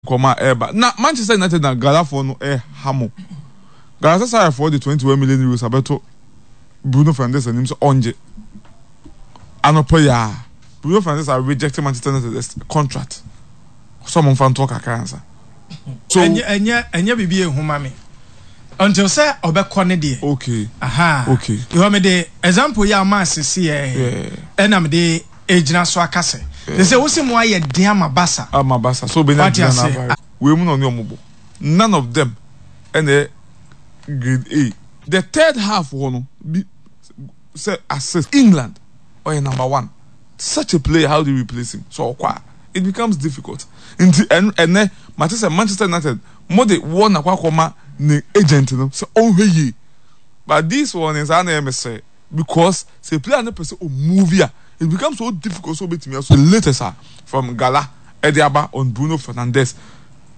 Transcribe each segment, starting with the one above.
Nkɔmɔ a ɛreba na Manchester United na Galafoɔ no ɛreha mo. Galatasarayfoɔ de 21 million euros abɛto Bruno Fernandes anim sɛ ɔngye. Anɔpa yi ara, Bruno Fernandes a reject Manchester United contract sɛ ɔmo nfa ntoɔ kakra ansa. So ɛnyɛ ɛnyɛ ɛnyɛ biribi ehu ma me until sɛ ɔbɛkɔ ne deɛ. Okay. Aha. Okay. Because me de example yi a ɔma asese yɛ. Ɛna me de egyina so aka sɛ. Te sɛ wosi mu ayɛ den ama Barca. Ama Barca so obenya Julian Alvarez. Wei mu na ɔne ɔmo bɔ. None of them ɛna ɛyɛ grade A. The third half hɔ no bi sɛ assist. England ɔyɛ number one such a player how do you replace him sɛ ɔkɔ a it becomes difficult nti ɛnɛ mate sɛ Manchester United mo de wɔn akɔ akɔma ne agent no sɛ ɔnhwɛ yie but this one saa na ɛyɛ me sere because sɛ player no pɛ sɛ o move a it becomes so difficult sɛ obetumi aso. The latest a from Gala ɛde aba on Bruno Fernandes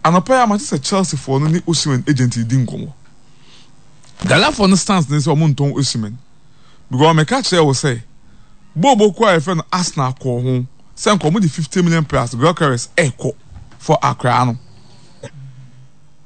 anɔpa yi a mate sɛ Chelsea foɔ no ne Osimhen agent redi nkɔmmɔ Gala foɔ no stance ne sɛ wɔn ntɔn Osimhen. Because meka kyerɛɛ wo sɛ bɔɔlbɔ kuo a yɛfrɛ no Arsenal kɔɔ ho sɛ nka wɔde 50 million plus Gyökeres ɛrekɔ for akwadaa no.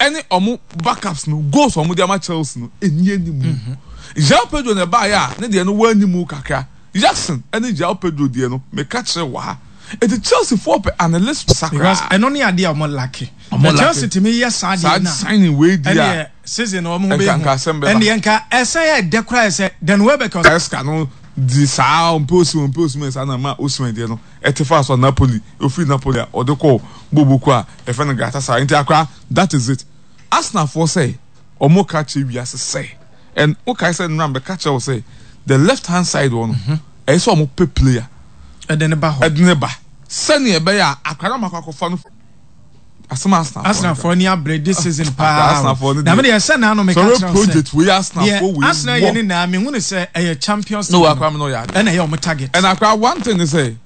Ɛne wɔn backups no goals a wɔde ama Chelsea no ɛni anim. Mhm. João Pedro na ɛbaeɛ a ne deɛ no wɔ anim kakra. Jackson ɛne João Pedro deɛ no meka kyerɛ wɔ ha. Eti Chelsea foɔ pɛ analyst sakra. Because ɛno ne adeɛ a wɔn lacke. Na Chelsea tumi yɛ saa deɛ no a. Saa signing wei deɛ a. Season no wɔn ho bɛyɛ hu. Ɛndeɛ nka ɛsan yɛ dɛ koraa sɛ Dan Welbeck. Maresca no di saa ɔmpɛ Osimhen ɔmpɛ Osimhen saa na ɛma Osimhen deɛ no ɛte faa so a Napoli ofiri Napoli a ɔde kɔɔ bɔɔlbɔ kuo a yɛfrɛ no Galatasaray nti akora that is it Arsenal foɔ sɛ wɔn ka kyerɛ wiase sɛ and wokae sɛ nnora mbɛka kyerɛ wo sɛ the left hand side hɔ no ɛyɛ sɛ wɔn pɛ player ɛde ne ba hɔ ɛde ne ba sɛnea ɛbɛyɛ a akora no makɔ akɔfa no asɛm a Arsenal foɔ ni abere this season paa na me deɛ sɛ na ano meka kyerɛ sɛ project wei Arsenal foɔ wei Arsenal yɛ ne na me hu ne sɛ ɛyɛ Champions League no akora me no yɛ ade ɛna ɛyɛ ɔmo target ɛna akora one thing ne sɛ.